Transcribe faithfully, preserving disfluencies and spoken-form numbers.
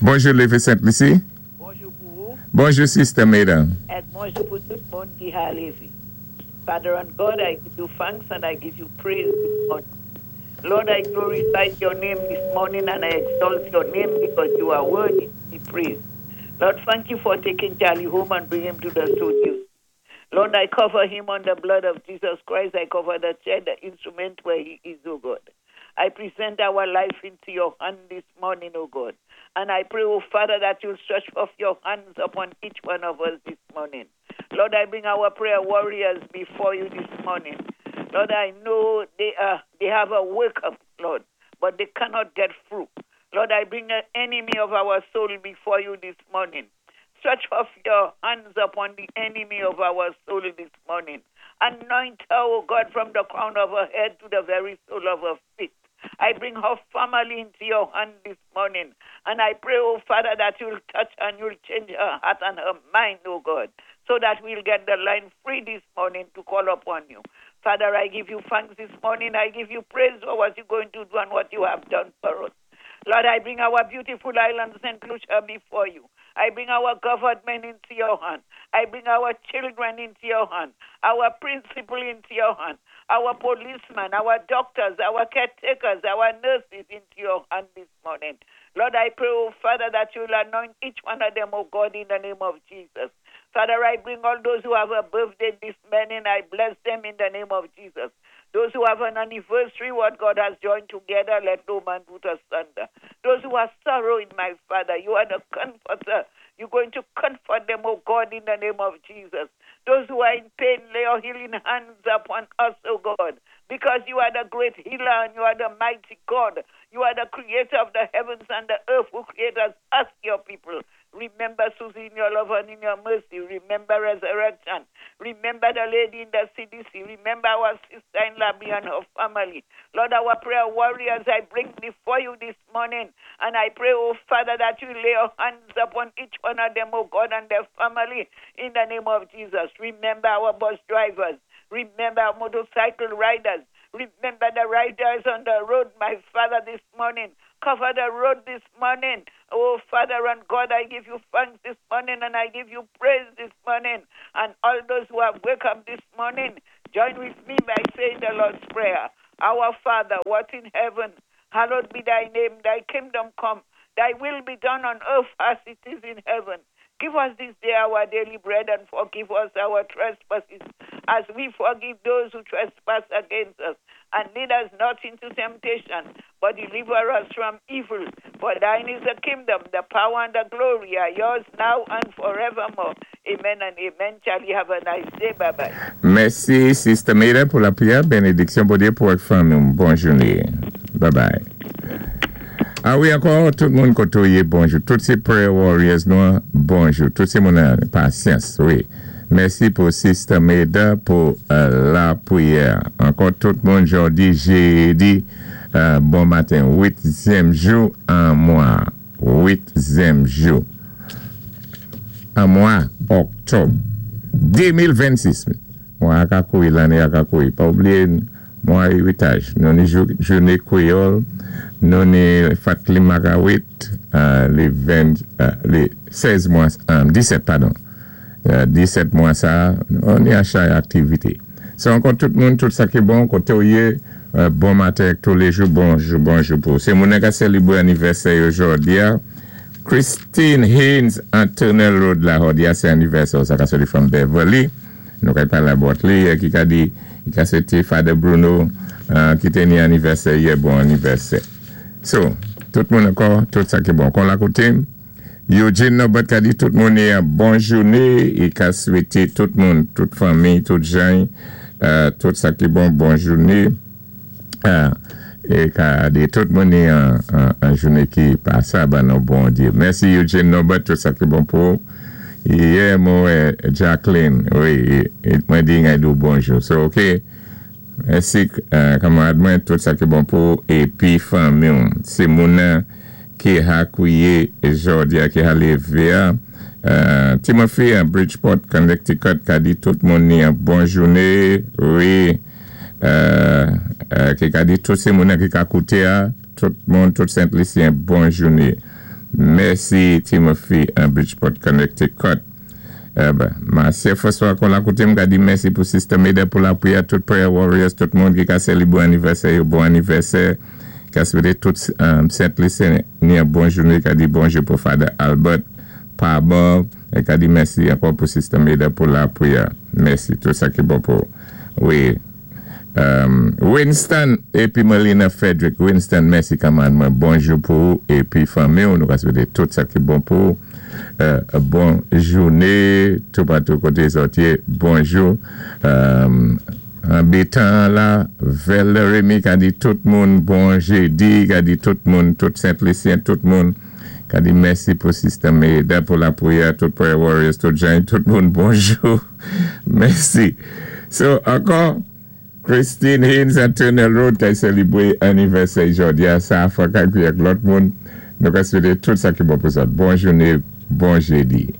Bonjou, Lévé Sent-Lisi. Bonjou pou ou. Bonjou, Sister Maida. Èk bonjou pou tout moun ki ha lévé. Father and God, I give you thanks and I give you praise this morning. Lord, I glorify your name this morning and I exalt your name because you are worthy to be praised. Lord, thank you for taking Charlie home and bring him to the studio. Lord, I cover him on the blood of Jesus Christ. I cover the chair, the instrument where he is, oh God. I present our life into your hand this morning, oh God. And I pray, oh Father, that you'll stretch forth your hands upon each one of us this morning. Lord, I bring our prayer warriors before you this morning. Lord, I know they are they have a wake up, Lord, but they cannot get through. Lord, I bring the enemy of our soul before you this morning. Stretch forth your hands upon the enemy of our soul this morning. Anoint her, O God, from the crown of her head to the very sole of her feet. I bring her family into your hand this morning. And I pray, oh Father, that you'll touch and you'll change her heart and her mind, oh God, so that we'll get the line free this morning to call upon you. Father, I give you thanks this morning. I give you praise for what you're going to do and what you have done for us. Lord, I bring our beautiful island, Saint Lucia, before you. I bring our government into your hand. I bring our children into your hand, our principal into your hand, our policemen, our doctors, our caretakers, our nurses into your hand this morning. Lord, I pray, oh Father, that you'll anoint each one of them, oh God, in the name of Jesus. Father, I bring all those who have a birthday this morning. I bless them in the name of Jesus. Those who have an anniversary, what God has joined together, let no man put asunder. Those who are sorrowing, my Father, you are the comforter. You're going to comfort them, oh God, in the name of Jesus. Those who are in pain, lay your healing hands upon us, oh God, because you are the great healer and you are the mighty God. You are the creator of the heavens and the earth who created us, your people. Remember Susie in your love and in your mercy. Remember resurrection. Remember the lady in the C D C. Remember our sister in Labby and her family. Lord, our prayer warriors I bring before you this morning. And I pray, oh Father, that you lay your hands upon each one of them, oh God, and their family in the name of Jesus. Remember our bus drivers. Remember our motorcycle riders. Remember the riders on the road, my Father, this morning. Cover the road this morning. Oh, Father and God, I give you thanks this morning and I give you praise this morning. And all those who have woke up this morning, join with me by saying the Lord's Prayer. Our Father, what in heaven, hallowed be thy name, thy kingdom come, thy will be done on earth as it is in heaven. Give us this day our daily bread and forgive us our trespasses as we forgive those who trespass against us. And lead us not into temptation, but deliver us from evil. For thine is the kingdom, the power, and the glory are yours now and forevermore. Amen and amen. Charlie, have a nice day. Bye bye. Mèsi, Sister Maida, pou lapriyè. Bénédiksyon Bondyé pou ak fanmi. Bon jouné. Bye bye. A wi, ankò, tout moun koté ou yé, bonjou. Tout sé prayer warriors, nou, bonjou. Tout sé moun pasyans, wi. Mèsi pou Sister Maida pou euh, lapriyè. Ankò tout moun, jòdi, jédi, euh, bon maten, uityèm jou an mwa. Uityèm jou. An mwa, oktòb de mil vennsis. Mwa a ka kouri, lanné a ka kouri. Pa oubliyé, mwa eritaj. Nou ni jouné kwéyòl, nou ni Fatli Magawit, euh, lé ven, euh, lé sèz mwa, disèt, padon. disèt mwa sa, nou ni a chay aktivité. Se ankò tout moun, tout sa ki bon, koté ou yé, bon maten tou lé jou, bonjou, bonjou pou. Sé moun ka sélébré anivèsè jòdi a. Christine Haynes, Antonel Road la, jòdi a sé anivèsè, sa ka soti from Beverly. Nou ka palé about li, ki ka di, ki ka swété Father Bruno, ki té ni anivèsè, yè bon anivèsè. So, tout moun ankò, tout sa ki bon. Kon la koté, Eugene Norbert ka di tout moun yon bon jouné, i ka swété tout moun, tout fanmi, tout jan, tout sa ki bon, bon jouné. E ka di tout moun yon jouné ki pasab an nou Bondyé. Mèsi Eugene Norbert, tout sa ki bon pou. Yè mwen Jacqueline, wi, mwen di ngay dou bonjou. So, ok, mèsi kamarad mwen, tout sa ki bon pou, epi fanmi. Se moun ki ha kouye jòdi a ki ha lévé a. Timothy an Bridgeport, Connecticut, ka di tout moun ni an bon jouné, wi, ki ka di tout sé moun ki ka kouté a, tout moun, tout Sent-Lisyen, bon jouné. Mèsi Timothy an Bridgeport, Connecticut. Eh ben, Marcia François kon la koté m ka di mèsi pou Sister Meda pou la pwiyè, tout prayer warriors, tout moun ki ka sélibwé anivèsè yo, bon anivèsè, ka swété tout um, Sent Lisyen ni yon bon jouné, ka di bonjou pou Father Albert, pa bon, é ka di mèsi ankò pou Sister Meda pou la pwiyè. Mèsi, tout sa ki bon pou, wi. Um, Winston épi Melina Frederick. Winston, mèsi kanmad mwen, bonjou pou ou épi fanmi ou, nou ka swété tout sa ki bon pou ou. Euh, bon jouné, tout patou koté zòt yé, bonjou. Um, an bétan la, Velle Remy ka di tout moun bon jédi, ka di tout moun, tout Sent Lisyen, tout moun, ka di mèsi pou Sister Meda, pou la pwiyè, tout prayer warriors, tout jan, tout moun bonjou. Mèsi. So, ankò, Christine Haynes at Tunnel Road ka sélibwé anivèsè jòdi a, sa fwa ka pi ak lòt moun, nou ka swété tout sa ki bon pou zòt. Bon jouné, bon jédi.